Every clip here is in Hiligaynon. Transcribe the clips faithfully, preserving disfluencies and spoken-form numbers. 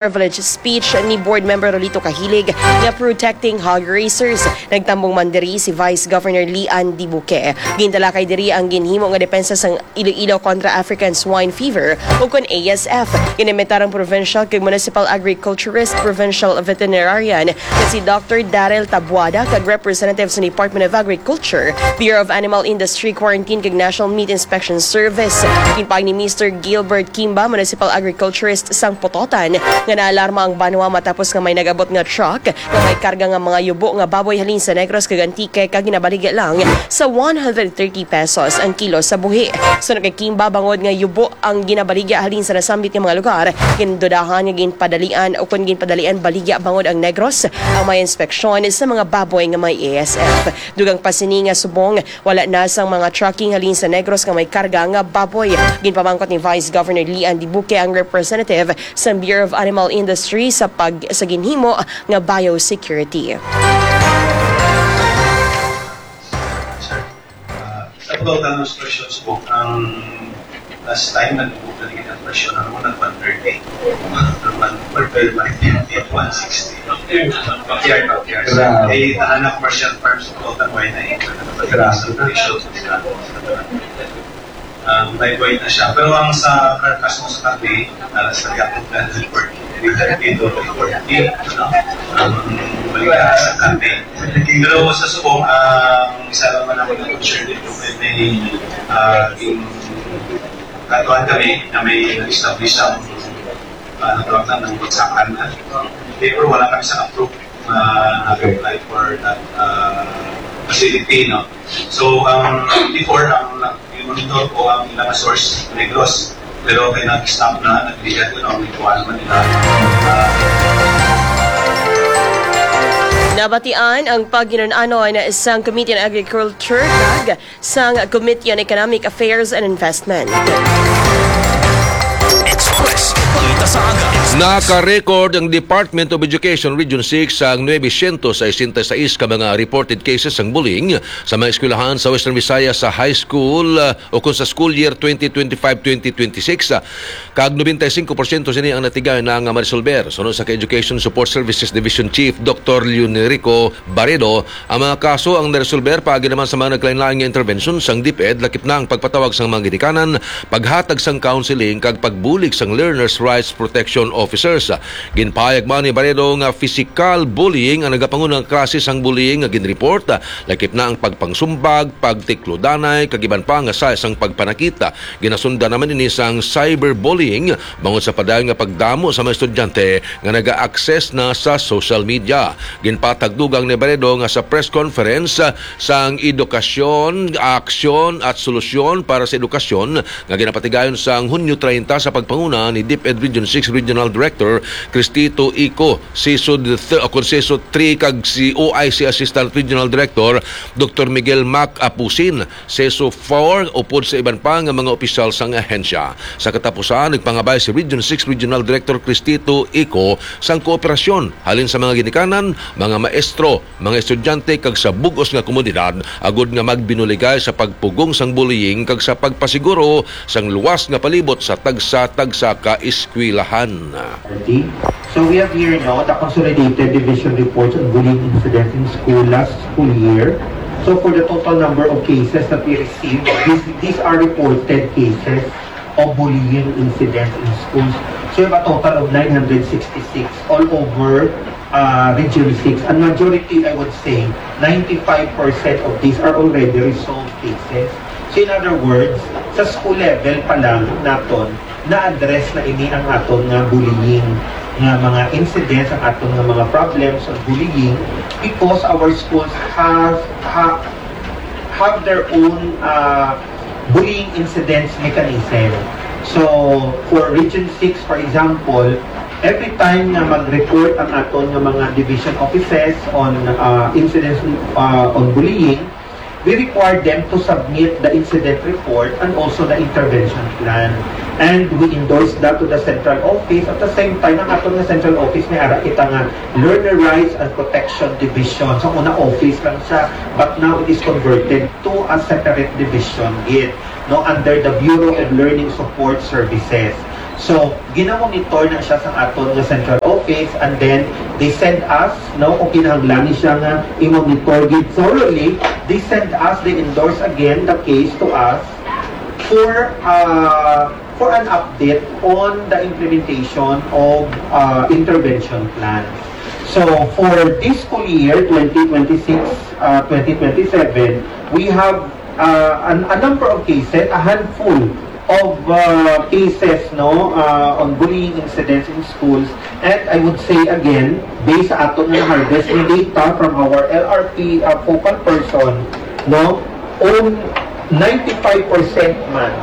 privilege speech ni Board Member Rolito Kahilig nga protecting hog raisers. Nagtambong man diri si Vice Governor Lian Dibuque. Gintalakay diri ang ginhimo nga depensa sang Iloilo kontra African Swine Fever, o kon A S F. Ginimitar ang provincial kag municipal agriculturist, provincial veterinarian nga si Doctor Daryl Tabuada kag representative sa Department of Agriculture, Bureau of Animal Industry, Quarantine kag National Meat Inspection Service. Ginpahayag ni Mister Gilbert Kimba, municipal agriculturist sang Pototan, nga naalarma ang banwa matapos nga may nag-abot nga truck nga may karga nga mga yubo nga baboy halin sa Negros kag Antique kag ginabaligya lang sa one hundred thirty pesos ang kilo sa buhi. Suno kay Kimba, bangod nga yubo ang ginabaligya halin sa nasambit nga mga lugar, gindudahan nga ginpadalian o kon ginpadalian baligya bangod ang Negros ang may inspeksyon sa mga baboy nga may A S F. Dugang pa sini nga subong, wala na sang mga trucking halin sa Negros nga may karga nga baboy. Ginpamangkot ni Vice Governor Lian Dibuque ang representative sa Bureau of Animal Industry sa pag sa ginhimo nga biosecurity. Sa pagkautan ng instructions po, ang last time nagbubuka din ang presyo ng mga one thirty. One thirty, one sixty. Pakyar, pakyar. Grabe. Eh, tahan na commercial farms sa pagkautan, why na eh? Grabe. Sa presyo, sa Um, may point na siya. Pero ang sa carcass mo sa karne, uh, sa gapon na report, dito report, no? Um, balik sa karne. Pero sa subong, ang isa lang man ako na concern dito, may, uh, yung katuan kami na may nag-establish ang, uh, natawag na ng bagsakan na. Pero wala kami sa approve na nag-apply for that, uh, facility, no? So, um, before, ang nag-monitor ko ang ilang source, Negros. Pero kay nag-stop na, nag-delete ko ang nagkuhan man nila. Uh, Nabatian ang paghinun-anon sang Committee on Agriculture kag sang Committee on Economic Affairs and Investment. Express Balita sa Aga. Naka-record ang Department of Education Region six sang nuebe siyento sesenta y seis ka mga reported cases sang bullying sa mga eskwelahan sa Western Visayas sa high school, uh, o kung sa school year twenty twenty-five twenty twenty-six, uh, kag nobenta y singko porsyento sini ang natigayon na nga maresolber. Suno sa kay Education Support Services Division Chief Doctor Leonerico Baredo, ang mga kaso ang naresolber paagi naman sa mga nagkalainlain nga intervention sang DepEd, lakip na ang pagpatawag sang mga ginikanan, paghatag sang counseling kag pagbulig sang learners' rights protection officers. Ginpahayag man ni Baredo nga physical bullying ang nagapangunang klase sang bullying nga ginreport, lakip na ang pagpangsumbag, pagtiklodanay kag iban pa nga sahi sang pagpanakita. Ginasundan naman ini sang cyberbullying bangod sa padayon nga pagdamo sa mga estudyante nga naga-access na sa social media. Ginpatagdugang ni Baredo nga sa press conference, ah, sang Edukasyon, Aksyon at Solusyon para sa Edukasyon nga ginapatigayon sang Hunyo treinta sa pagpanguna ni DepEd Region six Regional Director Cristito Ico, CESO th-, o kon CESO three kag si OIC Assistant Regional Director Doctor Miguel Mac Apusin, CESO four, upod sa iban pa nga mga opisyal sang ahensya. Sa katapusan, nagpangabay si Region six Regional Director Cristito Ico sang kooperasyon halin sa mga ginikanan, mga maestro, mga estudyante kag sa bug-os nga komunidad agod nga magbinuligay sa pagpugong sang bullying kag sa pagpasiguro sang luwas nga palibot sa tagsa-tagsa ka eskwelahan. So we have here now the consolidated division reports on bullying incidents in school last school year. So for the total number of cases that we received, these, these are reported cases of bullying incidents in schools. So we have a total of nine hundred sixty-six all over uh, Region six. And majority, I would say, ninety-five percent of these are already resolved cases. So in other words, sa school level pa lang naton, na-address na ini ang aton nga bullying nga mga incidents, ang aton nga mga problems of bullying because our schools have ha, have their own uh, bullying incidents mechanism. So for Region six, for example, every time na mag-report ang aton nga mga division offices on uh, incidents uh, on bullying, we require them to submit the incident report and also the intervention plan. And we endorse that to the central office. At the same time, ang aton nga central office, may ara kita nga Learner Rights and Protection Division. Sa una, office lang siya, but now it is converted to a separate division gid, no, under the Bureau of Learning Support Services. So, ginamonitor na siya sa aton nga central office, and then they send us, no, kung kinahanglan ni siya nga i-monitor gid thoroughly, they send us, they endorse again the case to us for, uh, for an update on the implementation of, uh, intervention plan. So, for this school year, twenty twenty-six, uh, twenty twenty-seven, we have, uh, an, a number of cases, a handful of, uh, cases, no, uh, on bullying incidents in schools. And I would say again, based sa aton nga harvest nga data from our L R P, uh, focal person, no, um, ninety-five percent man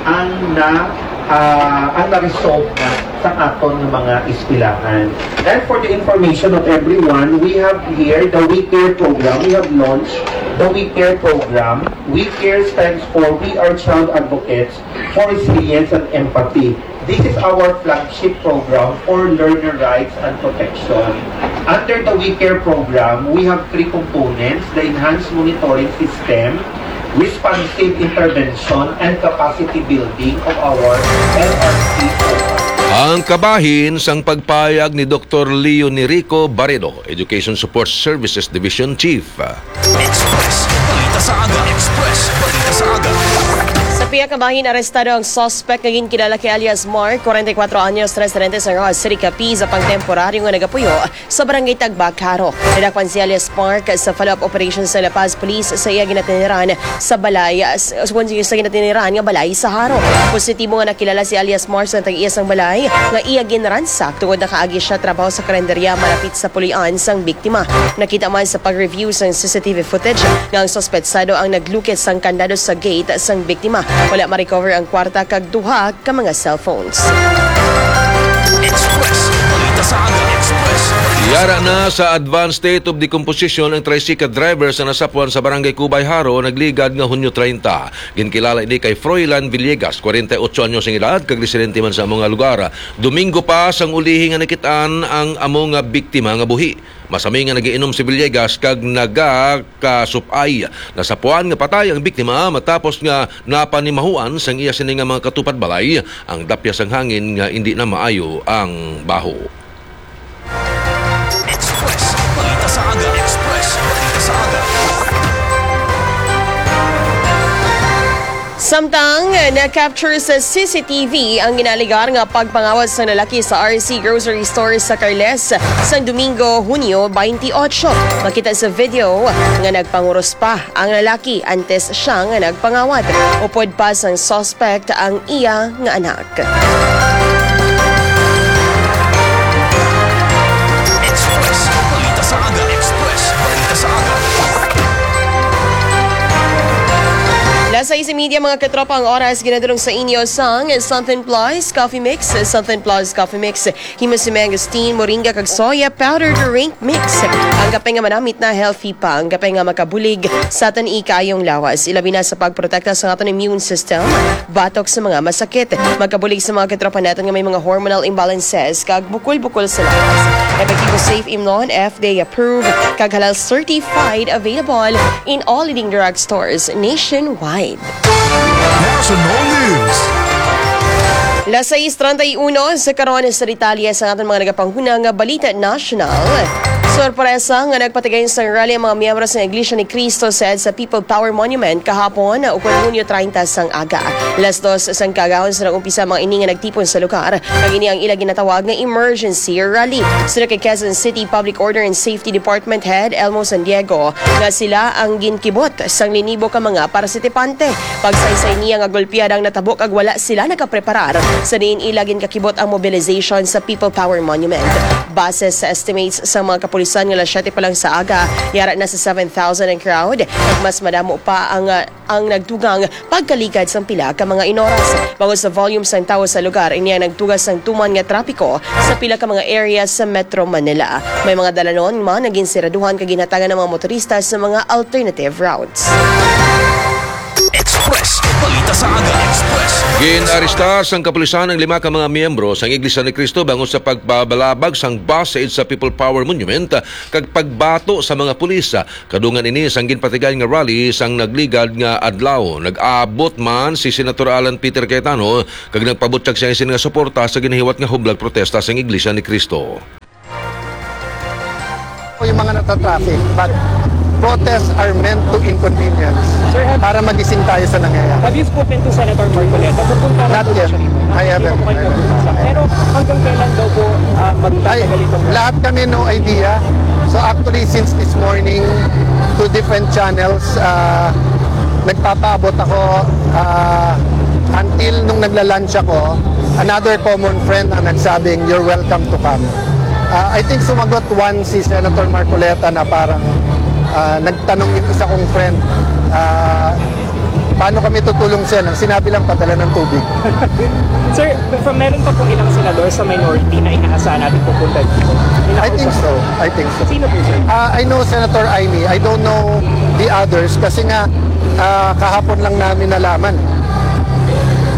ang na, ah, ang na-resolve na sa aton nga mga eskwelahan. And for the information of everyone, we have here the We Care program. We have launched the We Care program. We Care stands for We Are Child Advocates for Resilience and Empathy. This is our flagship program for learner rights and protection. Under the We Care program, we have three components: the enhanced monitoring system, responsive intervention, and capacity building of our L R C O. Ang kabahin sang pagpayag ni Doktor Leo Nerico Barredo, Education Support Services Division Chief. Express Balita sa Aga. Express Balita sa Aga. Sa pihak nga bahin, arestado ang suspect nga ginkilala kay alias Mark, kwarenta y kuwatro anyos, residente sa Roxas City, Capiz, sa pangtemporaryo nga nagapuyo sa Barangay Tagbak, Jaro. Nadakpan si alias Mark sa follow-up operation sa La Paz Police sa iya ginatiniran sa balay, s-, s-, sa ginatiniran nga balay sa Jaro. Positibo nga nakilala si alias Mark sa tag-iya sang balay nga iya ginransak tungod nakaagi siya trabaho sa karinderya malapit sa puloy-an sang biktima. Nakita man sa pag-review sang C C T V footage nga ang suspetsado ang naglukit sang kandado sa gate sang biktima. Wala ma-recover ang kwarta kag duha ka mga cellphones. Express Balita sa Aga. Express Balita sa Yara Aga. Na sa advanced state of decomposition ang tricycle driver sa nasapuan sa Barangay Cubay, Jaro, nagligad nga Hunyo treinta. Ginkilala ini kay Froilan Villegas, kwarenta y ocho anyos ang edad, kag residente man sa amo nga lugar. Domingo pa sang ulihi nga nakit-an ang amo nga biktima nga buhi. Masami nga nagiinom si Villegas kag nagakasupay. Nasapuan nga patay ang biktima matapos nga napanimahuan sang iya sini nga mga katupad balay ang dapya sang hangin nga indi na maayo ang baho. Express Balita sa Aga. Express Balita sa Aga. Samtang na-capture sa C C T V ang ginalegar nga pagpangawat sang lalaki sa R C Grocery Store sa Carles sang Domingo, Hunyo twenty-eight. Makita sa video nga nagpanguros pa ang lalaki antes siya nga nagpangawat. Upod pa sang suspect ang iya nga anak. Express Balita sa Aga. Express Balita sa Aga. Las sais y media, mga katropa, ang oras. Ginadulong sa inyo sang Something Plus Coffee Mix. Something Plus Coffee Mix, himo sa mangosteen, moringa, kag soya powder drink mix. Ang kape nga manamit na, healthy pa. Ang kape nga makabulig sa aton ikayong lawas, ilabi na sa pagprotekta sa aton immune system batok sa mga masakit. Makabulig sa mga katropa naton nga may mga hormonal imbalances kag bukol-bukol sa lawas. Epektibo, safe, Imnon F D A approved, kag halal certified, available in all leading drugstores nationwide. National News. Las sais treinta y uno sa karon, sa detalye sa aton mga nagapanghuna nga balita nasyonal. Sorpresa nga nagpatigay sang rally ang mga miyembro sa Iglesia ni Cristo sa EDSA People Power Monument kahapon, ukon Hunyo treinta sang aga. Las dos sang kaagahon sa nag-umpisa mga ini nga nagtipon sa lugar, kag ini ang ila ginatawag nga emergency rally. Suno kay Quezon City Public Order and Safety Department Head Elmo San Diego, nga sila ang ginkibot sang linibo ka mga partisipante. Pagsaysay niya nga golpiada ang natabo kag wala sila nakapreparar, sa diin ila ginkakibot ang mobilization sa People Power Monument. Base sa estimates sa mga kapulisan nga las siyete pa lang sa aga, yara na sa seven thousand ang crowd, kag mas madamo pa ang, ah, ang nagdugang pagkaligad sang pila ka mga inoras. Bangod sa volume sang tawo sa lugar, ini ang nagtuga sang tuman nga trapiko sa pila ka mga area sa Metro Manila. May mga dalanon man nga ginseraduhan kag ginhatagan ang mga motorista sa mga alternative routes. Express Balita sa Aga Express. Ginarestar sang kapulisan ang lima ka mga miyembro sang Iglesia ni Cristo bangod sa pagpabalabag sang bus sa EDSA People Power Monument kag pagbato sa mga pulis. Kadungan ini sang ginpatigayon nga rally sang nagligad nga adlaw. Nag-abot man si Senator Alan Peter Cayetano kag nagpabutyag siya sini nga suporta sa ginahiwat nga hublag protesta sang Iglesia ni Cristo. Yung mga natatraffic, but protests are meant to inconvenience para magising tayo sa nangyayari. Have you spoken to Senator Marcoleta? Pupunta lang Not po yet. Siya. I haven't. Pero hanggang kailan daw po uh, magtatagal itong... Lahat kami no idea. So actually, since this morning, two different channels, uh, nagpapaabot ako uh, until nung nagla-lunch ako, another common friend ang nagsabing, "You're welcome to come." Uh, I think sumagot one si Senator Marcoleta na parang uh, nagtanong yung isa kong friend, uh, paano kami tutulong sir? Ang sinabi lang, padala ng tubig. Sir, from meron pa pong ilang senador sa minority na inaasahan natin pupunta dito? I think so. I think so. Sino po, sir? Uh, I know Senator Imee. I don't know the others kasi nga uh, kahapon lang namin nalaman.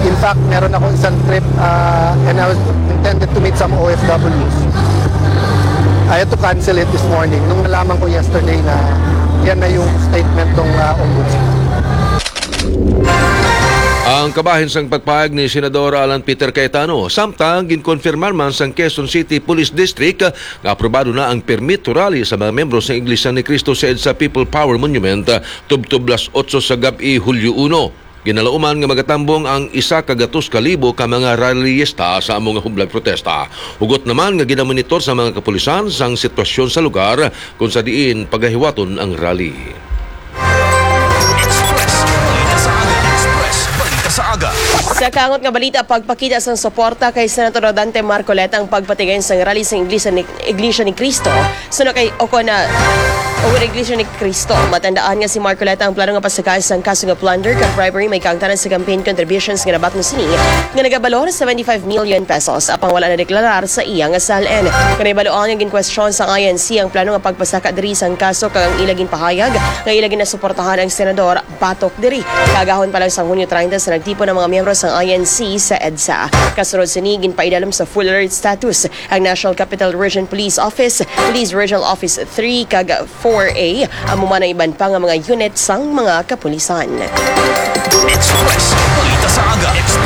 In fact, meron ako isang trip uh, and I was intended to meet some O F Ws. I had to cancel it this morning nung nalaman ko yesterday na yan na yung statement ng uh, ombudsman. Ang kabahin sang pagpahayag ni Senador Alan Peter Cayetano, samtang ginkonfirmar man sang Quezon City Police District nga aprobado na ang permit to rally sa mga miyembro sang Iglesia ni Cristo sa EDSA People Power Monument tubtob las otso sa gab-i, Hulyo uno. Ginalauman nga magatambong ang isa ka gatos ka libo ka mga rallyista sa amo nga hublag protesta. Hugot naman nga ginamonitor sa mga kapulisan sang sitwasyon sa lugar kung sa diin pagahiwaton ang rally. Sa kangot nga balita, pagpakita sang suporta kay Senator Dante Marcoleta ang pagpatigayon sang rally sang Iglesia ni, Iglesia ni Cristo suno kay Ocona o Iglesia ni Cristo. Matandaan nga si Marcoleta ang plano nga pasakay sang kaso nga plunder kag bribery may kaangtanan sa campaign contributions nga nabaton sini nga nagabalor seventy-five million pesos. Apang wala na deklarar sa iya nga SALN. Kanay baluan nga ginkwestiyon sa I N C ang plano nga pagpasaka diri sang kaso kag ang ila ginpahayag nga ila ginasuportahan ang senador batok diri. Kagahon pa lang sa Hunyo treinta sa nagtipon ang mga miyembro sang I N C sa EDSA. Kasunod sini, ginpaidalom sa full alert status ang National Capital Region Police Office, Police Regional Office three kag four A, amo man ang iban pa nga mga unit sang mga kapulisan.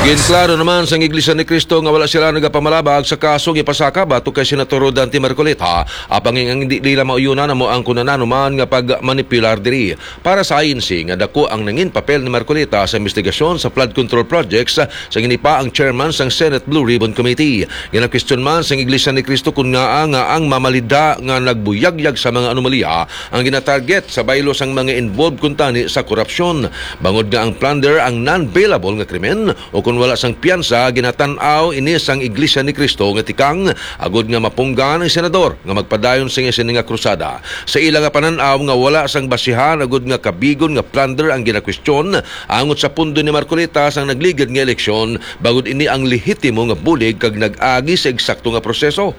Ginklaro naman sang Iglesia ni Cristo nga wala sila nagapamalabag sa kaso nga ipasaka batok kay Senator Rodante Marcoleta, apang ang indi nila mauyunan amo ang kun ano man nga pagmanipular diri. Para sa I N C nga dako ang nangin papel ni Marcoleta sa investigasyon sa flood control projects, sang ini pa ang chairman sang Senate Blue Ribbon Committee. Ginakwestiyon man sang Iglesia ni Cristo kon ngaa nga ang mamalida nga nagbuyagyag sa mga anomalya ang ginatarget sa baylo sang mga involved kuntani sa korupsyon, bangod nga ang plunder ang non-bailable nga krimen, o kon wala sang piyansa, ginatan-aw ini sang Iglesia ni Cristo nga tikang agud nga mapunggan ang senador nga magpadayon sini nga krusada. Sa ila nga panan-aw nga wala sang basihan agud nga kabigon nga plunder ang ginakwestiyon angot sa pondo ni Marcoleta sang nagligad nga eleksyon, bangod ini ang lehitimo nga bulig kag nag-agi sa eksakto nga proseso.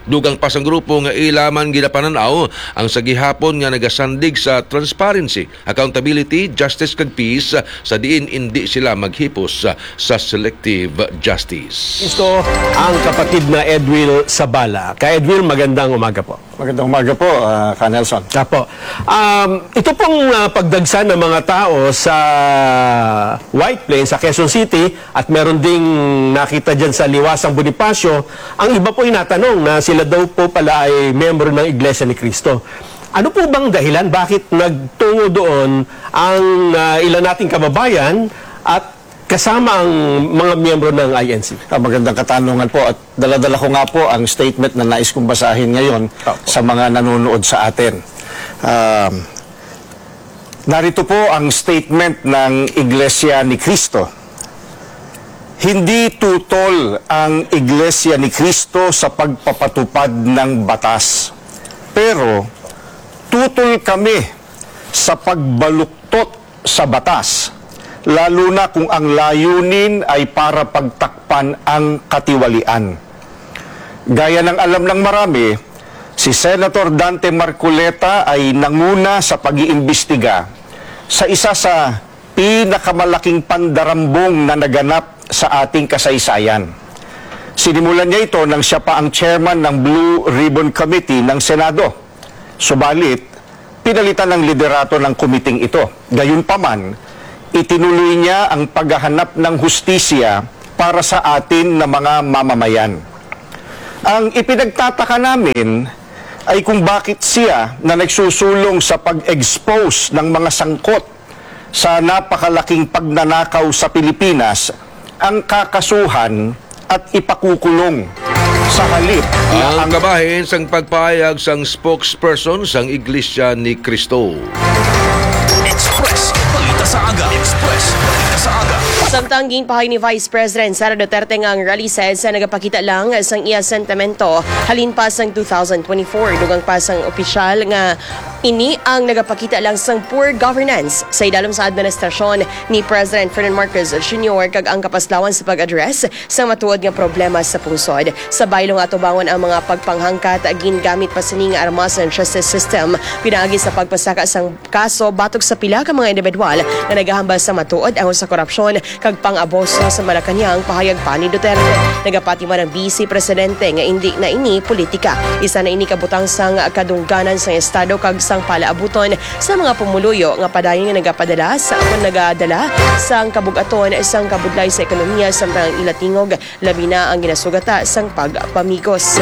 Dugang pa sang grupo nga ila man ginapanan-aw ang sa gihapon nga nagasandig sa transparency, accountability, justice kag peace, sa diin indi sila maghipos sa selective justice. Isto ang kapatid na Edwil Sabala. Ka Edwil, magandang umaga po. Magandang umaga po, ah, Ka Nelson. Apo. Um, ito pong ah, pagdagsa ng mga tao sa White Plains, sa Quezon City, at meron ding nakita dyan sa Liwasang Bonifacio, ang iba po ay natanong na sila daw po pala ay miyembro ng Iglesia ni Cristo. Ano po bang dahilan bakit nagtungo doon ang ah, ilan nating kababayan at kasama ang mga miyembro ng I N C? Ah, magandang katanungan po at daladala ko nga po ang statement na nais kong basahin ngayon Opo. Sa mga nanonood sa atin. Um, narito po ang statement ng Iglesia ni Cristo. Hindi tutol ang Iglesia ni Cristo sa pagpapatupad ng batas. Pero tutol kami sa pagbaluktot sa batas, lalo na kung ang layunin ay para pagtakpan ang katiwalian. Gaya ng alam ng marami, si Senator Dante Marcoleta ay nanguna sa pag-iimbestiga sa isa sa pinakamalaking pandarambong na naganap sa ating kasaysayan. Sinimulan niya ito nang siya pa ang chairman ng Blue Ribbon Committee ng Senado. Subalit, pinalitan ang liderato ng komiting ito. Gayunpaman, itinuloy niya ang paghahanap ng hustisya para sa atin na mga mamamayan. Ang ipinagtataka namin ay kung bakit siya na nagsusulong sa pag-expose ng mga sangkot sa napakalaking pagnanakaw sa Pilipinas ang kakasuhan at ipakukulong sa halip na Ang ang kabahin sang pagpahayag sang spokesperson sang Iglesia ni Cristo. Express Balita sa Aga. Express Balita sa Aga. Samtang ginpahay ni Vice President Sara Duterte nga ang rally sa EDSA nagapakita lang sang iya sentimento halin pa sang two thousand twenty-four, dugang pa sang opisyal nga ini ang nagapakita lang sang poor governance sa idalom sa administrasyon ni President Ferdinand Marcos Junior kag ang kapaslawan sa pag-address sa matuod nga problema sa pungsod. Sa baylo nga atubangon ang mga pagpanghangkat, gingamit pa sini nga armas ang justice system pinaagi sa pagpasaka sang kaso batok sa pila ka mga individual nga nagahambal sa matuod angon sa korupsyon kag pang-abuso sa Malacañang, pahayag pa ni Duterte. Nagapati man ang Vice Presidente nga indi na ini politika. Isa na ini ka butang sang kadungganan sang Estado kag sang palaabuton sa mga pumuluyo nga padayon nga nagapadala sa o nagadala sang kabug-aton sang kabudlay sa ekonomiya, samtang ang ila tingog labi na ang ginasugata sang pagpamigos.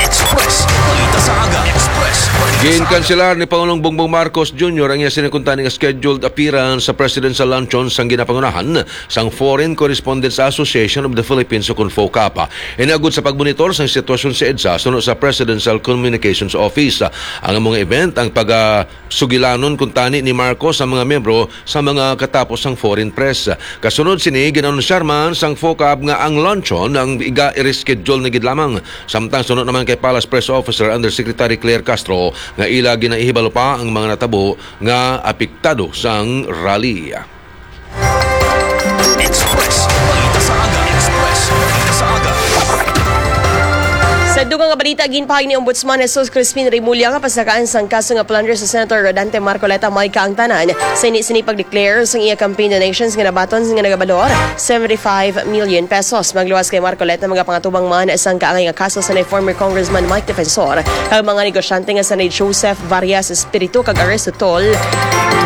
Express Balita sa Aga. Express Balita sa Aga. Ginkanselar ni Pangulong Bongbong Marcos Junior ang iya sini kuntani nga scheduled appearance sa presidential luncheon sang ginapangunahan sang Foreign Correspondents Association of the Philippines, ukon FOCAP. Ini agud sa pagmonitor sang sitwasyon sa EDSA suno sa Presidential Communications Office. Ang mga event ang pagasugilanon kuntani ni Marcos sa mga miyembro sa mga katapos sang foreign press. Kasunod sini, gin-anunsyar man sang FOCAP nga ang luncheon ang iga i-reschedule na gid lamang. Samtang suno naman kay Palace Press Officer Undersecretary Claire Castro nga ila ginahibalo pa ang mga natabo nga apektado sang rally. Express Balita sa Aga. Express Balita sa Aga. Sa dugang nga balita, ginpahay ni Ombudsman Jesus Crispin Remulla nga pasakaan sang kaso nga plunder sa Senator Rodante Marcoleta may kaangtanan sa ini sini pag-declare sang iya campaign donations nga nabaton nga nagabalor seventy-five million pesos. Magluwas kay Marcoleta, magapangatubang man sang kaangay nga kaso sa ni former Congressman Mike Defensor kag mga negosyante nga sa ni Joseph Varias Espiritu kag Aristotle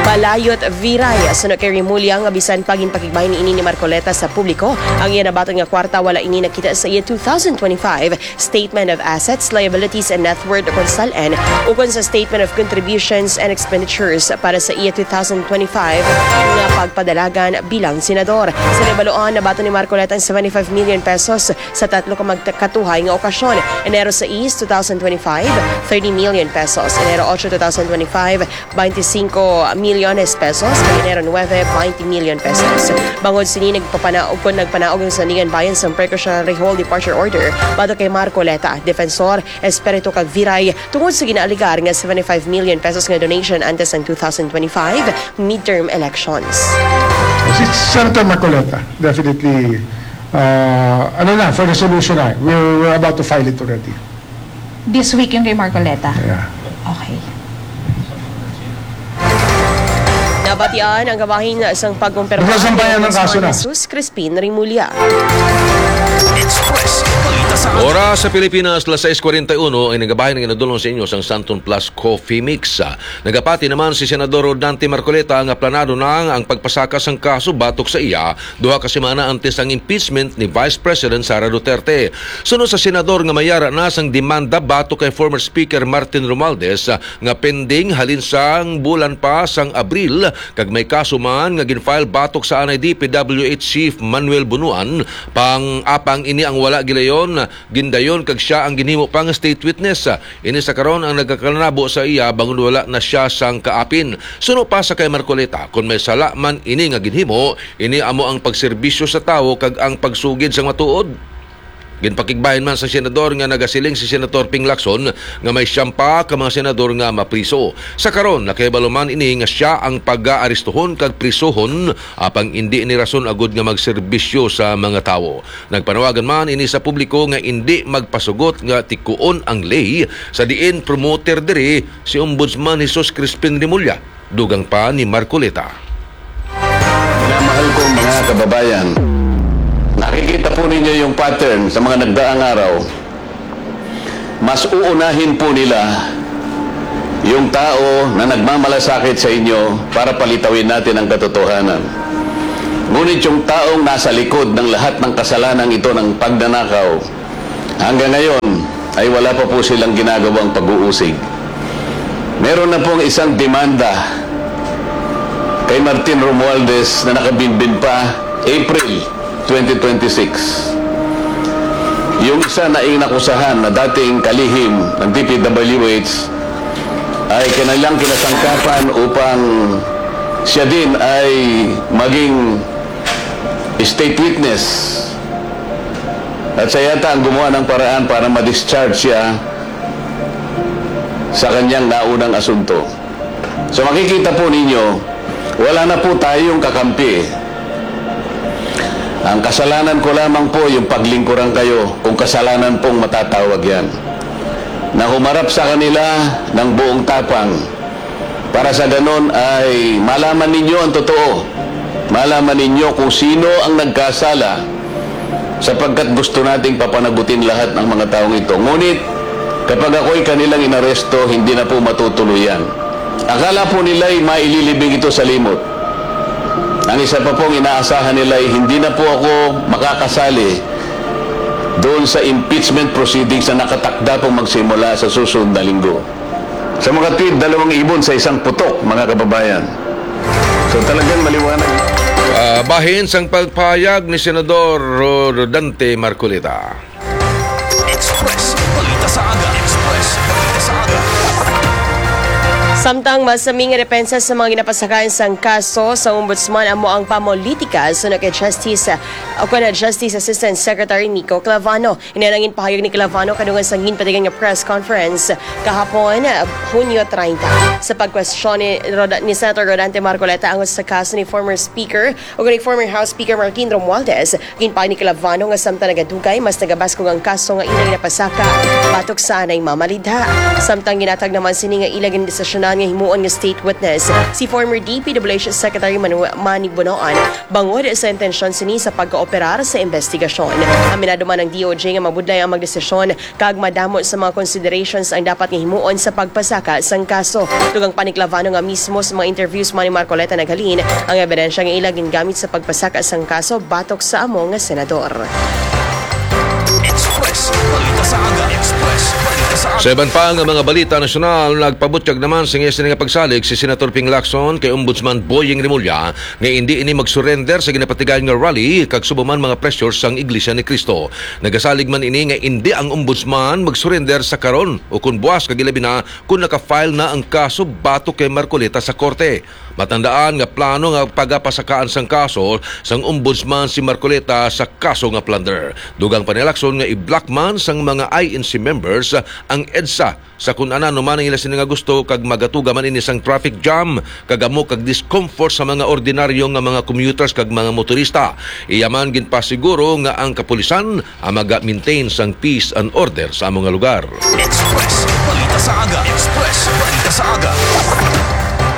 Balayot Viray. Suno kay Remulla nga bisan pa ginpakigbahin ini ni Marcoleta sa publiko, ang iya nabaton nga kwarta wala ini nakita sa iya two thousand twenty-five Statement of Assets, Liabilities, and Net Worth ukon SALN, ukon sa Statement of Contributions and Expenditures para sa iya two thousand twenty-five nga pagpadalagan bilang senador. Sa nabaluan, nabaton ni Marcoleta ang seventy-five million pesos sa tatlo ka magkatuhay nga okasyon: Enero sais, two thousand twenty-five, thirty million pesos; Enero ocho, two thousand twenty-five, twenty-five milyones pesos; kag Enero nuebe, twenty million pesos. Bangod sini, nagpapanaog kon nagpanaog ang Sandigan Bayan sang precautionary hold departure order batok kay Marcoleta, Defensor, Espiritu kag Viray tungod sa ginaaligar nga seventy-five million pesos nga donation antes sang two thousand twenty-five midterm elections. Si Senator Marcoleta, definitely, uh, ano na, for resolution na. We're, we're about to file it already. This week yung kay Marcoleta? Yeah. Okay. Nabatian ang kabahin sang pagkumpirma Nagsasampayan ni ng kaso Ombudsman na. Jesus Crispin Remulla. Express Balita sa Aga. Oras sa Pilipinas, las sais kuwarenta y uno, ang nagabahin nga nadulong sa inyo sang Santon Plus Coffee Mix. Ah, nagapati naman si Senador Rodante Marcoleta nga planado na ang pagpasaka sang kaso batok sa iya duha ka semana antes ang impeachment ni Vice President Sara Duterte. Suno sa senador nga mayara na sang demanda batok kay former Speaker Martin Romualdez, ah, nga pending halin sang bulan pa sang Abril, kag may kaso man nga gin-file batok sa anay D P W H Chief Manuel Bunuan, pang apang ini ang wala gilayon, gindayon kag sia ang ginhimo pa nga state witness. Ini sa karon ang nagakalanabo sa iya bangod wala na sia sang kaapin. Suno pa sa kay Marcoleta, kon may sala man ini nga ginhimo, ini amo ang pagserbisyo sa tawo kag ang pagsugid sang matuod. Ginpakigbahin man sa senador nga nagasiling si Senator Ping Lacson nga may siyam pa ka mga senador nga mapriso. Sa karon, nakahibalo man ini nga sia ang pag-aaristohon kag prisuhon, apang indi ini rason agud nga magserbisyo sa mga tawo. Nagpanawagan man ini sa publiko nga indi magpasugot nga tikuon ang ley, sa diin promoter diri si Ombudsman Jesus Crispin Remulla. Dugang pa ni Marcoleta. Minamahal kong mga kababayan, nakikita po ninyo yung pattern sa mga nagdaang araw. Mas uunahin po nila yung tao na nagmamalasakit sa inyo para palitawin natin ang katotohanan. Ngunit yung taong nasa likod ng lahat ng kasalanang ito ng pagnanakaw, hanggang ngayon ay wala pa po silang ginagawang pag-uusig. Meron na pong isang demanda kay Martin Romualdez na nakabinbin pa April twenty twenty-six. Yung isa na inakusahan na dating kalihim ng D P W H ay kanilang kinasangkapan upang siya din ay maging state witness. At siya yata ang gumawa ng paraan para ma-discharge siya sa kanyang naunang asunto. So makikita po ninyo, wala na po tayong kakampi. Ang kasalanan ko lamang po yung paglingkuran kayo, kung kasalanan pong matatawag yan, na humarap sa kanila ng buong tapang, para sa ganon ay malaman ninyo ang totoo. Malaman ninyo kung sino ang nagkasala, sapagkat gusto nating papanagutin lahat ng mga taong ito. Ngunit kapag ako'y kanilang inaresto, hindi na po matutuloy yan. Akala po nila'y maililibing ito sa limot. Ang isa pa pong inaasahan nila ay hindi na po ako makakasali doon sa impeachment proceedings na nakatakda pong magsimula sa susunod na linggo. Sa mga tweet, dalawang ibon sa isang putok, mga kababayan. So talagang maliwanag. Ah, bahin sang pagpahayag ni Senador Rodante Marcoleta. Express Balita sa Aga. Express Balita sa Aga. Samtang masami nga depensa sa mga ginapasakaan sang kaso sa Ombudsman amo ang pamolitika suno kay Justice o kon Justice Assistant Secretary Nico Clavano. Ini ang ginpahayag ni Clavano kadungan sa ginpatigan nga press conference kahapon, Hunyo treinta. Sa pagkwestiyon ni, Roda, ni Senator Rodante Marcoleta angot sa kaso ni former Speaker o ni former House Speaker Martin Romualdez, ginpahayag ni Clavano nga samtang nagadugay, mas nagabaskog ang kaso nga ila ginapasaka batok sa anay mamalidha. Samtang ginatag naman sini nga ila gindesisyonan nga himuon nga state witness si former D P W H Secretary Manuel Manny Bonoan bangod sa intensyon sini sa pagkooperar sa investigasyon. Aminado man ang D O J nga mabudlay ang magdesisyon kag madamo sa mga considerations ang dapat nga himuon sa pagpasaka sang kaso. Dugang pa ni Clavano nga mismo sa mga interviews man ni Marcoleta naghalin ang ebidensya nga ila gingamit sa pagpasaka sang kaso batok sa amo nga senador. Express Balita sa Aga. Express Balita sa Aga. Sa iban pa nga mga balita nasyonal, nagpabutyag naman sa iya sini nga pagsalig si Senator Ping Lacson kay Ombudsman Boying Remulla nga indi ini mag-surrender sa ginapatigayon nga rally kag subong man mga pressure sang Iglesia ni Cristo. Nagasalig man ini nga indi ang Ombudsman mag-surrender sa karon o kon buas kag ilabi na kon naka-file na ang kaso batok kay Marcoleta sa korte. Matandaan nga plano nga pagapasakaan sang kaso sang Ombudsman si Marcoleta sa kaso nga plunder. Dugang pa ni Lacson nga i-block man sang mga I N C members ang EDSA sa kun ano man ang ila sini nga gusto kag magatuga man ini sang traffic jam kag amo kag discomfort sa mga ordinaryo nga mga commuters kag mga motorista. Iya man ginpasiguro nga ang kapulisan ang maga-maintain sang peace and order sa amo nga lugar. Express Balita sa Aga. Express Balita sa Aga.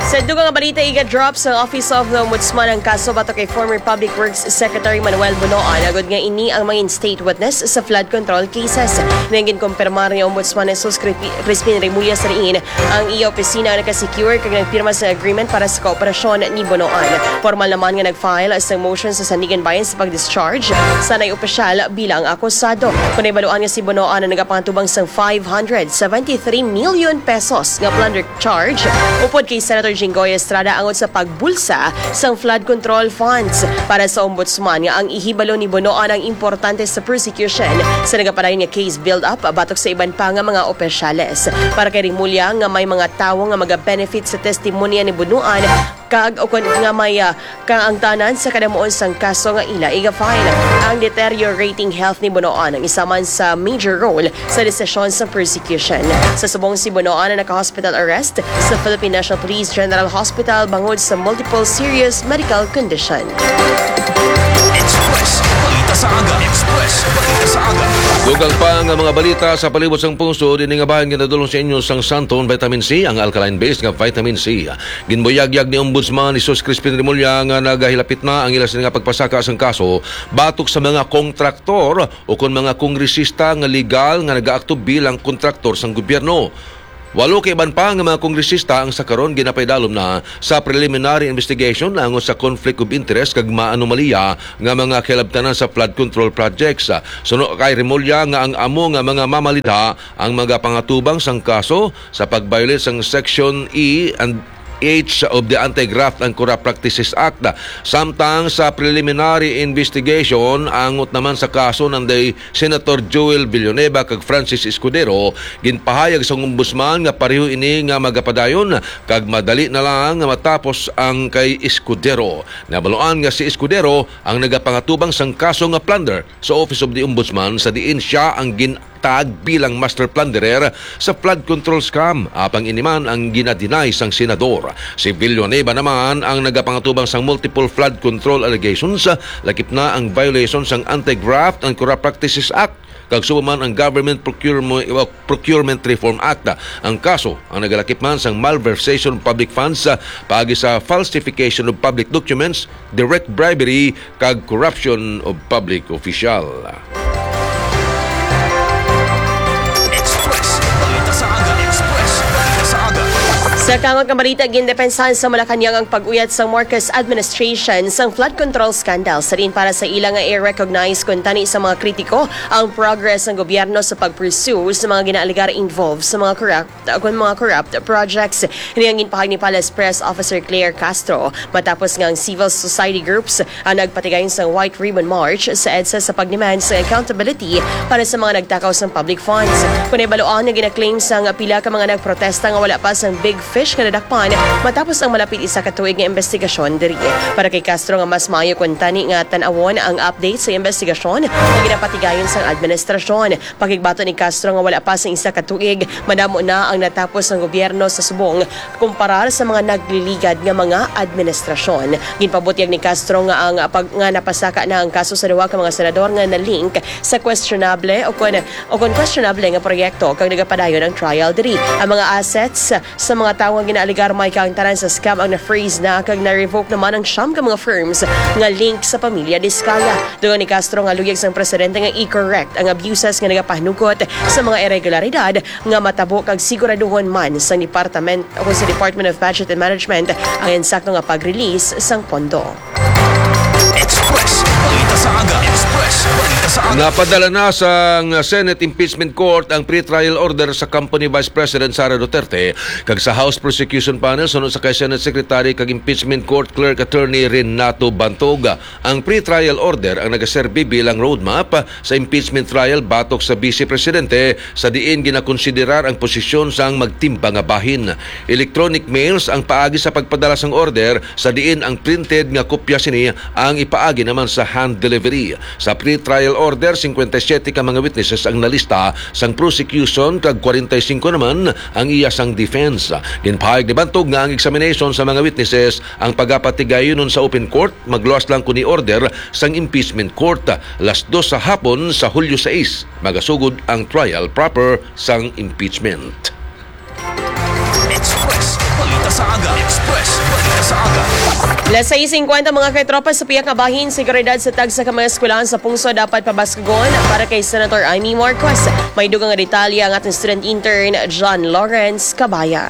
Sa dugang nga balita, iga-drop sa Office of the Ombudsman ang kaso batok kay former Public Works Secretary Manuel Bonoan agod nga ini ang mangin state witness sa flood control cases. Nang ginkumpirmar ni Ombudsman Jesus Cri- Crispin Remulla sa diin ang iya opisina ang nakasecure kag nagpirma sa agreement para sa kooperasyon ni Bonoan. Formal naman nga nag-file sa motion sa Sandiganbayan sa pag-discharge sa nay opisyal bilang akusado. Kon nahibaluan nga si Bonoan ang nagapangatubang sang five hundred seventy-three million pesos nga plunder charge upod kay Senator Jinggoy Estrada angot sa pagbulsa sang flood control funds. Para sa Ombudsman nga ang ihibalo ni Bonoan ang importante sa prosecution sa nagapadayon nga case build-up batok sa iban pa nga mga opisyales. Para kay Remulla nga may mga tawo nga maga-benefit sa testimonya ni Bonoan kag ukon nga may ah, kaangtanan sa kadamuon sang kaso nga ila iga-file. Ang deteriorating health ni Bonoan ang isa man sa major role sa desisyon sa prosecution. Sa subong si Bonoan ang naka-hospital arrest sa Philippine National Police General Hospital bangod sa multiple serious medical condition. Express Balita Sa aga, Express, balita sa aga. Dugang pa nga mga balita sa palibot sang pungsod, ini nga bahin ginadulong sa inyo sang Santon Vitamin C, ang alkaline base nga vitamin C. Ginbuyagyag ni Ombudsman Jesus Crispin Remulla nga nagahilapit na ang ila sini nga pagpasaka sang kaso batok sa mga kontraktor o kon mga kongresista nga legal nga nagaakto bilang kontraktor sang gobyerno. Walo ka iban pa nga mga kongresista ang sa karon ginapaidalom na sa preliminary investigation naangot sa conflict of interest kag maanomalya nga mga kilabtanan sa flood control projects. Suno kay Remulla nga ang amo nga mga mamalita ang magapangatubang sang kaso sa pag-violate sang Section E and H of the Anti-Graft and Corrupt Practices Act. Samtang sa preliminary investigation, angot naman sa kaso nanday Senator Joel Villanueva kag Francis Escudero, ginpahayag sang ombudsman nga pareho ini nga magapadayon kag madali na lang nga matapos ang kay Escudero. Nabaluan nga si Escudero ang nagapangatubang sang kaso nga plunder sa Office of the Ombudsman, sa diin sia ang gin- tag bilang master plunderer sa flood control scam, apang ini man ang ginadinay sang senador. Si Villanueva naman ang nagapangatubang sang multiple flood control allegations, lakip na ang violation sang Anti-Graft and Corrupt Practices Act, kag subong man ang Government Procurement, Procurement Reform Act. Ang kaso ang nagalakip man sang malversation of public funds, ah, paagi sa falsification of public documents, direct bribery, kag corruption of public official. Express, balita sa aga. Express, balita sa aga. Sa kangot nga balita, gindepensahan sa Malacañang ang pag-uyat sang Marcos administration sang flood control scandal. Sa diin para sa ila nga i-recognize kuntani sa mga kritiko ang progress sang gobyerno sa pag-pursue sa mga ginaalegar involved sa mga corrupt kon mga corrupt projects. Ini ang ginpahayag ni Palace Press Officer Claire Castro matapos nga ang civil society groups ang nagpatigayon sang White Ribbon March sa EDSA sa pagdemand sa accountability para sa mga nagtakaw sang public funds. Kon ibaluan nga ginaklaim sang pila ka mga nagprotesta nga wala pa sang big fish nga nadakpan matapos ang malapit isa ka tuig nga investigasyon diri. Para kay Castro nga mas maayo kuntani nga tan-awon ang update sa investigasyon nga ginapatigayon sang administrasyon. Pakigbato ni Castro nga wala pa sang isa ka tuig, madamo na ang natapos sang gobyerno sa subong kumparar sa mga nagliligad nga mga administrasyon. Ginpabutyag ni Castro nga ang pag-, nga napasaka na ang kaso sa duha ka mga senador nga na-link sa questionable o kon, o kon questionable nga proyekto kag nagapadayon ang trial diri. Ang mga assets sa mga tawo nga ginaalegar may kaangtanan sa scam ang na-freeze na kag na-revoke naman ang siyam ka mga firms nga link sa pamilya Discaya. Dugang ni Castro nga luyag sang presidente nga i-correct ang abuses nga nagapahanugot sa mga irregularidad nga matabo kag siguraduhon man sang department o sa Department of Budget and Management ang insakto nga pag-release sang pondo. Express, balita sa aga. Express, balita sa aga. Napadala na sang Senate Impeachment Court ang pretrial order sa kampo ni Vice President Sara Duterte kag sa House Prosecution Panel suno sa kay Senate Secretary kag Impeachment Court Clerk Attorney Renato Bantog. Ang pretrial order ang nagaserbi bilang roadmap sa impeachment trial batok sa Vice Presidente, sa diin ginakonsiderar ang posisyon sang magtimba nga bahin. Electronic mails ang paagi sa pagpadala sang order, sa diin ang printed nga kopya sini ang ipaagi naman sa hand delivery. Sa pretrial order, singkwenta y siyete ka mga witnesses ang nalista sang prosecution kag kwarenta y singko naman ang iya sang defense. Ginpahayag ni Bantog nga ang examination sa mga witnesses ang pagapatigayonon sa open court, magluwas lang kon i-order sang impeachment court. Las dos sa hapon sa Hulyo sais, magasugod ang trial proper sang impeachment. Express, balita sa aga. Express, balita sa aga. Las sais singkwenta, mga katropa, sa pihak nga bahin, seguridad sa tagsa ka mga eskwelahan sa pungsod dapat pabaskugon. Para kay Senator Imee Marcos, may dugang nga detalye ang aton student intern, John Lawrence Cabaya.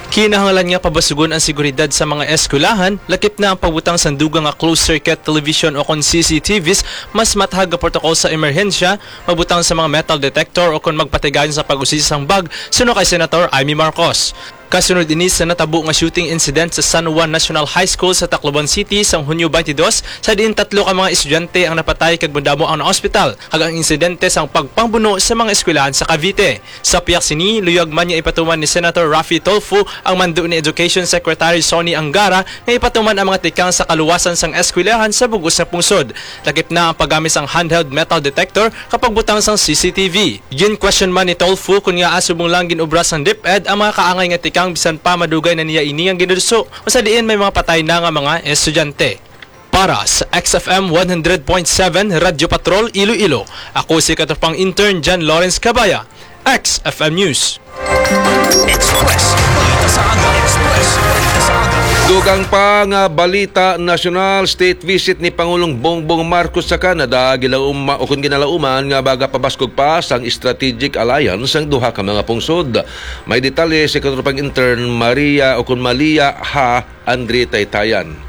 Kinahanglan nga pabaskugon ang seguridad sa mga eskwelahan, lakip na ang pagbutang sang dugang nga closed-circuit television o kon C C T Vs, mas mathag nga protocol sa emerhensya, magbutang sa mga metal detector o kon magpatigayon sa pag-usisa sang bag, suno kay Senator Imee Marcos. Kasunod ini sa natabo nga shooting incident sa San Juan National High School sa Tacloban City sang Hunyo twenty-two, sa diin tatlo ka mga estudyante ang napatay kag madamo ang naospital, kag ang insidente sang pagpangbuno sa mga eskwelahan sa Cavite. Sa pihak sini, luyag man nga ipatuman ni Senator Raffy Tulfo ang mando ni Education Secretary Sonny Angara nga ipatuman ang mga tikang sa kaluwasan sang eskwelahan sa bug-os nga pungsod. Lakip na ang paggamit sang handheld metal detector kag pagbutang sang C C T V. Gin-question man ni Tulfo kon ngaa subong lang gin-obra sang DepEd ang mga kaangay nga tikang bisan pa madugay na niya ini nga ginduso, kung sa diin may mga patay na nga mga estudyante. Para sa X F M one hundred point seven Radyo Patrol Iloilo, ako si katropang intern John Lawrence Cabaya, X F M News. Express. Balita sa aga. Express. Balita sa aga. Dugang pa nga balita nasyonal, state visit ni Pangulong Bongbong Marcos sa Canada, gilauma-, o kung ginalauman nga magapabaskog pa sang strategic alliance ang duha ka mga pungsod. May detalye si katropang intern Maria o kung Malia ha Andre Taytayan.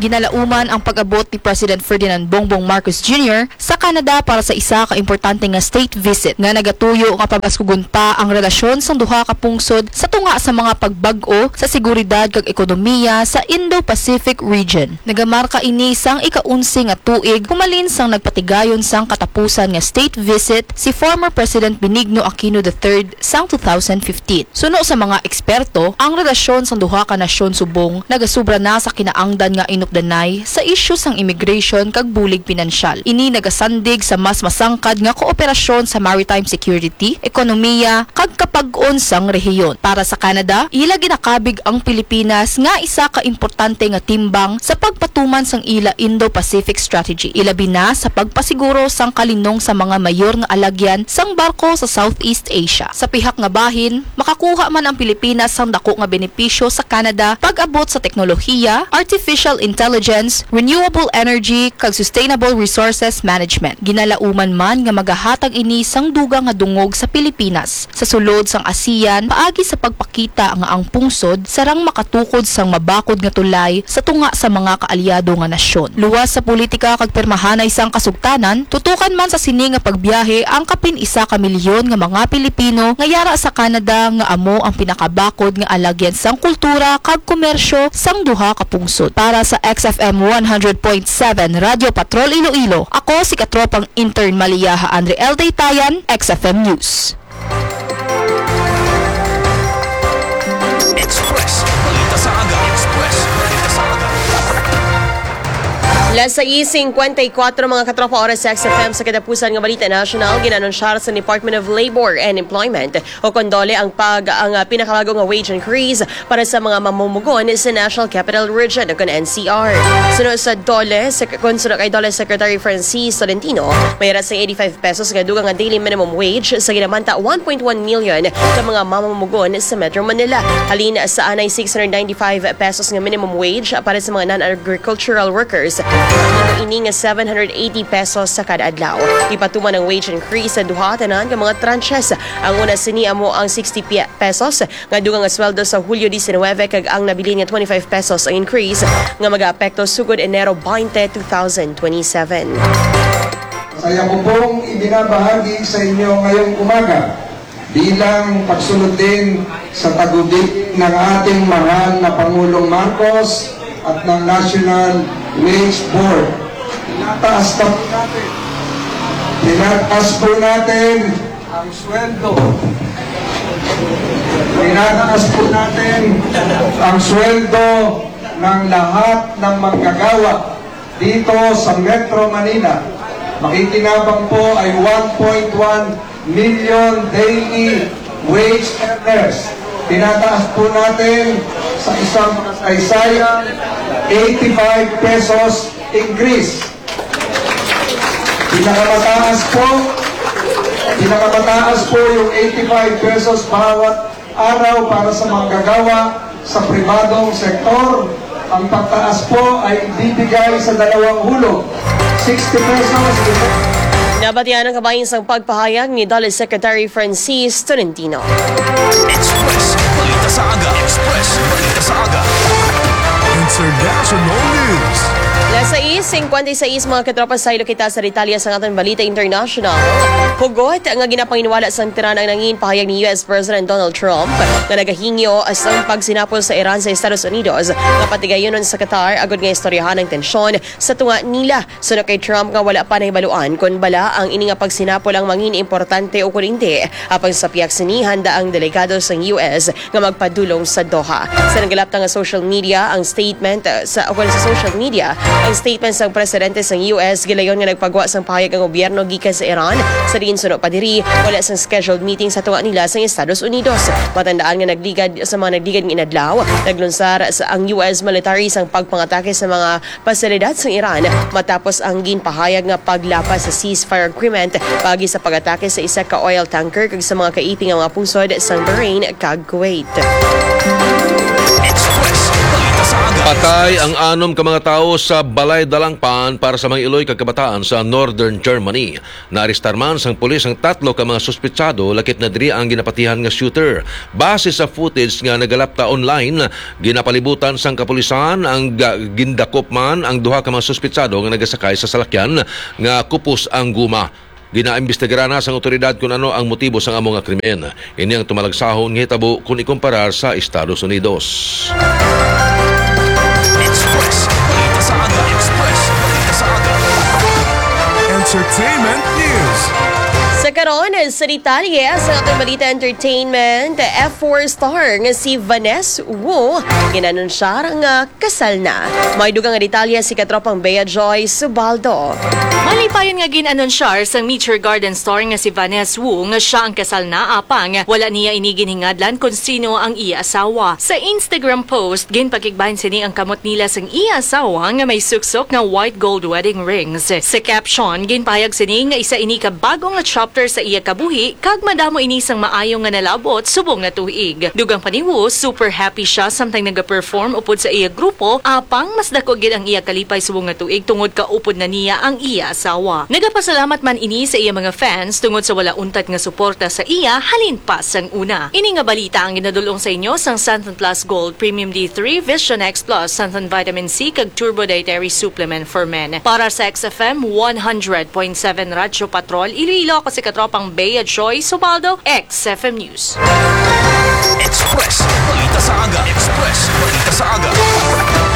Ginalauman ang pag-abot ni President Ferdinand Bongbong Marcos Junior sa Canada para sa isa ka importante nga state visit nga nagatuyo nga pabaskugon pa ang relasyon sang duha ka pungsod sa tunga sa mga pagbag-o sa seguridad kag ekonomiya sa Indo-Pacific region. Nagamarka ini sang ika-onse nga tuig humalin sang nagpatigayon sang katapusan nga state visit si former President Benigno Aquino the third sang two thousand fifteen. Suno sa mga eksperto, ang relasyon sang duha ka nasyon subong nagasubra na sa kinaangdan nga inukdanay sa isyu sang immigration kag bulig pinansyal. Ini nagasandig sa mas masangkad nga kooperasyon sa maritime security, ekonomiya, kag kapag-on sang rehiyon. Para sa Canada, ila ginakabig ang Pilipinas nga isa ka importante nga timbang sa pagpatuman sang ila Indo-Pacific Strategy, ilabi na sa pagpasiguro sang kalinong sa mga mayor nga alagyan sang barko sa Southeast Asia. Sa pihak nga bahin, makakuha man ang Pilipinas sang dako nga benepisyo sa Canada pag-abot sa teknolohiya, artificial intelligence, renewable energy, kag sustainable resources management. Ginalauman man nga magahatag ini sang dugang nga dungog sa Pilipinas sa sulod sang ASEAN paagi sa pagpakita nga ang pungsod sarang makatukod sang mabakod nga tulay sa tunga sa mga kaalyado nga nasyon. Luwas sa politika kag pirmahanay sang kasugtanan, tutukan man sa sini nga pagbiyahe ang kapin isa ka milyon nga mga Pilipino nga yara sa Canada nga amo ang pinakabakod nga alagyan sang kultura kag komersyo sang duha ka pungsod. Para sa X F M one hundred point seven Radyo Patrol Iloilo, ako si katropang intern Maliaha Andre L. Daytayan, X F M News. Express. Balita sa aga. Express. Balita sa aga. Las sais cincuenta y cuatro, mga katropa, oras sa X F M. Sa katapusan nga balita national, ginanunsyar sa Department of Labor and Employment o kon DOLE ang pag-, ang, ah, pinakabago nga wage increase para sa mga mamumugon sa National Capital Region o kon N C R. Suno sa DOLE, sek-, kon suno kay DOLE Secretary Francis Tolentino, may ara sa eighty-five pesos nga dugang nga daily minimum wage sa ginamanta one point one million ka mga mamumugon sa Metro Manila. Halin sa anay six hundred ninety-five pesos nga minimum wage para sa mga non-agricultural workers, ini nga seven hundred eighty pesos sa kada adlaw. Ipatuman ang wage increase sa duha tanan nga mga tranches. Ang una sini amo ang sixty pe-, pesos nga dugang nga sweldo sa Hulyo diecinuebe, kag ang nabilin nga twenty-five pesos ang increase nga magaapekto sugod Enero twenty, two thousand twenty-seven. Saya ko pong ibinabahagi sa inyo ngayong umaga bilang pagsulod din sa tagubilin ng ating mahal na Pangulong Marcos at ng National Wage Board. Tinataas na po natin. Tinataas po natin ang sweldo. Tinataas po natin ang sweldo ng lahat ng manggagawa dito sa Metro Manila. Makikinabang po ay one point one million daily wage earners. Tinataas po natin sa isang kasaysayan, eighty-five pesos increase. Pinakamataas po, pinakamataas po yung eighty-five pesos bawat araw para sa manggagawa sa pribadong sektor. Ang pagtaas po ay ibibigay sa dalawang hulog, sixty pesos. Nabatian ang kabahin sang pagpahayag ni DOLE Secretary Francis Tolentino. Express. Balita sa aga. Express. Balita sa aga. International News. Las sais cincuenta y seis, mga katropa, saylo kita sa detalye sa aton balita international. Hugot nga ginapanginiwala sang Tehran ang nangin pahayag ni U S President Donald Trump nga nagahingyo sang pagsinapol sa Iran sa Estados Unidos nga patigayunon sa Qatar agud nga istoryahan ang tensyon sa tunga nila. Suno kay Trump nga wala pa nahibaluan kon bala ang ini nga pagsinapol ang mangin importante o kon indi. Apang sa pihak sini, handa ang delegado sang U S nga magpadulong sa Doha. Sa nagkalapta nga social media, ang statement, uh, sa, o kon sa social media, Ang statement sang presidente sang U S gilayon nga nagpagwa sang pahayag ang gobyerno gikan sa Iran, sa diin suno pa diri wala sang scheduled meeting sa tunga nila sang Estados Unidos. Matandaan nga nagligad sa mga nagligad nga inadlaw, naglunsar sa ang U S military sang pagpangatake sa mga pasilidad sang Iran matapos ang ginpahayag nga paglapas sa ceasefire agreement paagi sa pag-atake sa isa ka oil tanker kag sa mga kaiti nga mga pungsod sang Bahrain kag Kuwait. Patay ang anom ka mga tawo sa Balay Dalangpan para sa mga iloy kag kabataan sa Northern Germany. Naarestar man sang pulis ang tatlo ka mga suspetsado, lakip na diri ang ginapatihan nga shooter. Base sa footage nga nagalapta online, ginapalibutan sang kapulisan ang ga- gindakop man ang duha ka mga suspetsado nga nagasakay sa salakyan nga kupos ang guma. Ginaimbestigaran na sang awtoridad kon ano ang motibo sang amo nga krimen. Ini ang tumalagsahon nga hitabo kon ikumparar sa Estados Unidos. Express. Balita sa aga. Express. Balita sa aga. Entertainment News. Sa karon, sa detalye sa ating balita entertainment, F four star nga si Vanessa Wu ginanunsyar nga kasal na. May dugang nga detalye si katropang Bea Joy Subaldo. Malipayon nga gin-anunsyar sang Nature Garden star nga si Vanessa Wu nga siya ang kasal na, apang wala niya ini ginhingadlan kon sino ang iya asawa. Sa Instagram post, ginpakigbahin sini ang kamot nila sang iya asawa nga may suksok nga white gold wedding rings. Sa caption, ginpahayag sini nga isa ini ka bag-o nga chapter sa iya kabuhi kag madamo ini sang maayo nga nalabot subong nga tuig. Dugang pa ni Wu, super happy siya samtang nagaperform upod sa iya grupo, apang mas dako gid ang iya kalipay subong nga tuig tungod kaupod na niya ang iya asawa. Nagapasalamat man ini sa iya mga fans tungod sa wala untat nga suporta sa iya halin pa sang una. Ini nga balita ang ginadul-ong sa inyo sang Santon Plus Gold Premium D three, Vision X Plus, Santon Vitamin C, kag Turbo Dietary Supplement for Men. Para sa X F M one hundred point seven Radyo Patrol Iloilo, ako si katropang Bea Joy Subaldo, X F M News. Express. Balita sa aga. Express. Balita sa aga.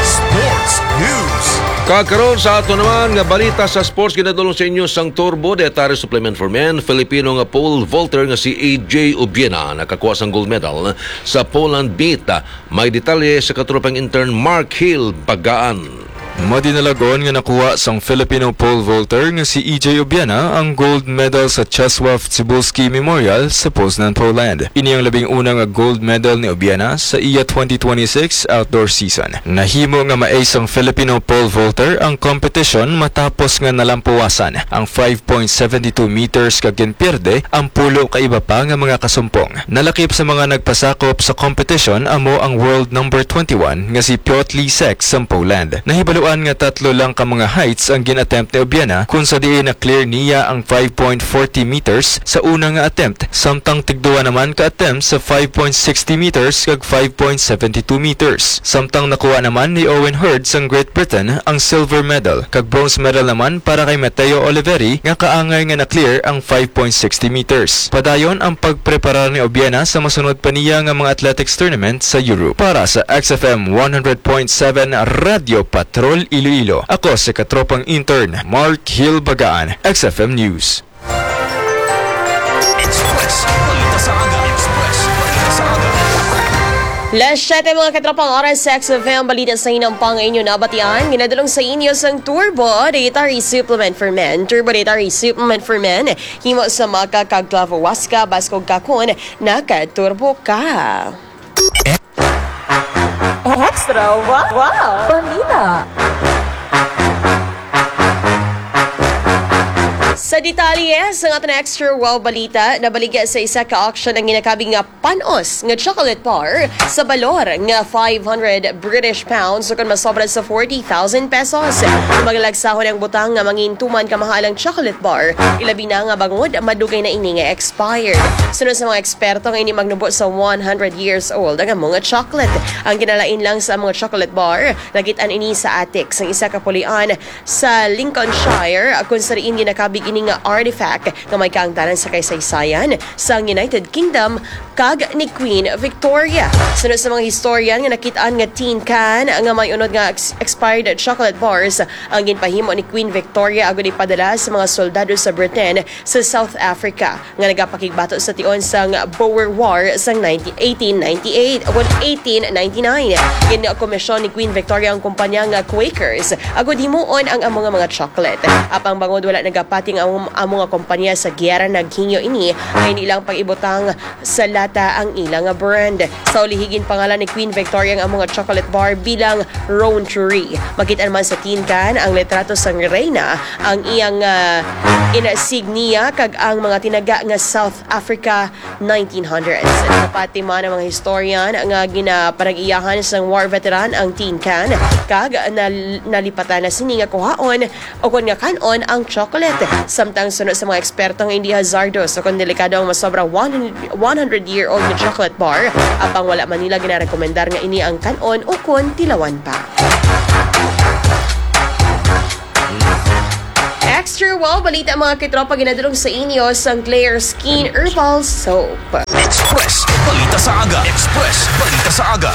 Sports News. Kakaron sa ato naman nga balita sa sports, ginadulong sa inyo sang Turbo Dietary Supplement for Men. Filipino nga pole vaulter nga si A J Ubiena nakakuha sang gold medal sa pole and beat. May detalye sa katropang intern Mark Hill Bagaan. Madinalagon nga nakuha sang Filipino pole vaulter nga si E J Obiana ang gold medal sa Czesław Cybulski Memorial sa Poznan, Poland. Ini ang labing una nga gold medal ni Obiana sa iya twenty twenty-six outdoor season. Nahimo nga ma-ace sang Filipino pole vaulter ang kompetisyon matapos nga nalampuwasan ang five point seven two meters kag ginpierde ang pulo ka iba pa nga mga kasumpong. Nalakip sa mga nagpasakop sa kompetisyon amo ang world number twenty-one nga si Piotr Lisek sang Poland. Nahibaluan nga tatlo lang ka mga heights ang gin-attempt ni Obiana, kung sa diin na-clear niya ang five point forty meters sa una nga attempt, samtang tigduwa naman ka attempt sa five point sixty meters kag five point seventy two meters. Samtang nakuha naman ni Owen Hurd sang Great Britain ang silver medal, kag bronze medal naman para kay Matteo Oliveri nga kaangay nga na-clear ang five point sixty meters. Padayon ang pagpreparar ni Obiena sa masunod pa niya nga mga athletics tournament sa Europe. Para sa X F M one hundred point seven Radyo Patrol Iloilo, ako si katropang intern Mark Hill Bagaan, X F M News. Express. Balita sa aga. Express. Balita sa aga. Las siyete, mga katropang, oras sa X F M. Balita sa inyo pa nga inyo nabatian. Ginadulong sa inyo sang Turbo Dietary Supplement for Men. Turbo Dietary Supplement for Men. Himo sa maca kag clavo huasca, baskog ka kon naka-turbo ka. Extra wow, wow. Balita. Sa detalye sa aton extra wow balita, nabaligya sa isa ka auction ang ginakabig nga panos nga chocolate bar sa balor nga five hundred British pounds, o kon masobra sa forty thousand pesos. Maglagsahon ang butang nga mangin tuman ka mahalang chocolate bar, ilabi na nga bangod madugay na ini nga expired. Suno sa mga eksperto, nga ini magnubo sa one hundred years old ang amo nga chocolate. Ang kinalain lang sa mga chocolate bar, nakit-an ini sa attic sang isa ka pulian sa Lincolnshire, kung sa diin ginakabig ini nga artifact nga may kaangtanan sa kasaysayan sang United Kingdom kag ni Queen Victoria. Suno sa mga historian nga nakit-an nga tin can nga may unod nga ex-, expired chocolate bars ang ginpahimo ni Queen Victoria agud ipadala sa mga soldado sa Britain sa South Africa nga nagapakigbato sa tion sang Boer War sang nineteen, eighteen ninety-eight o eighteen ninety-nine. Ginakomisyon ni Queen Victoria ang kumpanya nga Quakers agud himuon ang amo nga mga chocolate. Apang bangod wala nagapati ang amo, amo nga kumpanya sa giyera, naghingyo ini nga indi lang pag-ibutang sa lata ang ila nga brand. Sa ulihi, ginpangalan ni Queen Victoria ang amo nga chocolate bar bilang Rowntree. Makita naman sa tin can ang litrato sang reyna, ang iyang, ah, insignia, kag ang mga tinaga nga South Africa nineteen hundreds. Napati man ang mga historian nga ginapanag-iyahan sang war veteran ang tin can, kag nal-, nalipatan na sini nga kuhaon o kon nga kan-on ang chocolate. Samtang suno sa mga eksperto nga indi hazardos o kon delikado ang masobra one hundred, one hundred year old nga chocolate bar, apang wala man nila ginarekomendar nga ini ang kan-on o kon tilawan pa. Extra wow balita, mga katropa, ginadulong sa inyo sang Claire Skin Herbal Soap. Express Balita sa Aga. Express Balita sa Aga.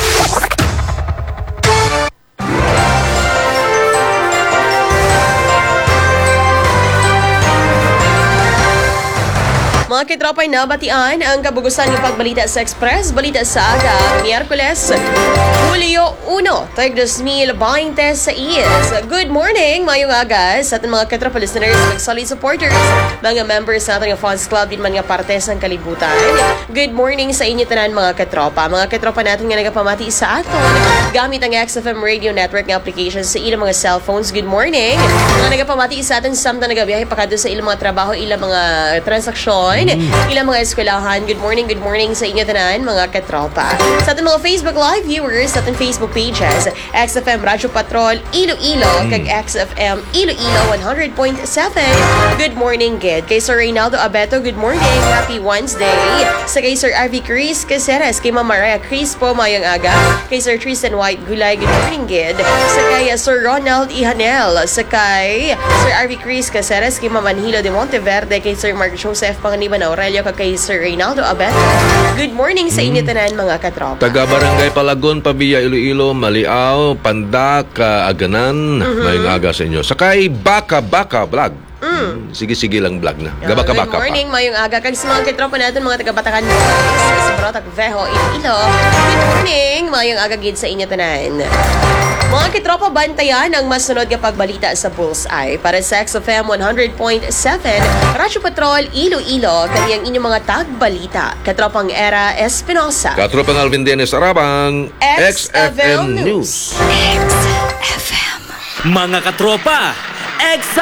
Mga katropa, nabatian ang kabugusan nga pagbalita sa Express Balita sa Aga, Miyerkules, Hulyo uno, tag dos mil bente seis. Good morning, mayong aga sa aton mga katropa listeners, mga solid supporters, mga members sa aton nga fans club, din man nga parte sang kalibutan. Good morning sa inyo tanan, mga katropa. Mga katropa natin nga nagapamati sa aton gamit ang X F M Radio Network nga application sa ilang mga cellphones, good morning. Mga nagapamati sa aton samtang nagabiyahe pakadto sa ilang mga trabaho, ilang mga transaksyon, ilang mga eskwelahan, good morning, good morning sa inyo tanan, mga katropa. Sa aton mga Facebook Live viewers, sa aton Facebook pages, X F M Radyo Patrol Iloilo, kag X F M Iloilo one hundred point seven. Good morning gid kay Sir Reynaldo Abeto, good morning, happy Wednesday. Sa kay Sir Ivy Chris Caceres, kay Ma'am Mariah Crispo, mayong aga. Kay Sir Tristan White Gulay, good morning gid. Sa kay, uh, Sir Ronald Ihanel, sa kay Sir Ivy Chris Caceres, kay Ma'am Anhilo de Monteverde, kay Sir Mark Joseph Panganiban Aurelio, kag kay Sir Reynaldo Abeto. Good morning sa inyo tanan, mga katropa. Taga Barangay Palagon, Pavia, Iloilo, Maliao, Pandak, ah, Aganan. Mayong aga sa inyo. Sa kay Baka Baka Vlog. Mm, sige-sige lang vlog na. Ah, gabaka-baka pa. Good morning, mayong aga. Kag sa mga katropa natin, mga taga Batacan Boys, sa Brotac Veho, Iloilo. Good morning, mayong aga gid sa inyo tanan. Mga katropa, bantayan ang masunod nga pagbalita sa Bullseye para sa X F M one hundred point seven, Radyo Patrol, Iloilo, kag ang inyong mga tagbalita, Katropang Era Espinosa. Katropang Alvin Dennis Arabang, X F M News. X F M. Mga katropa, X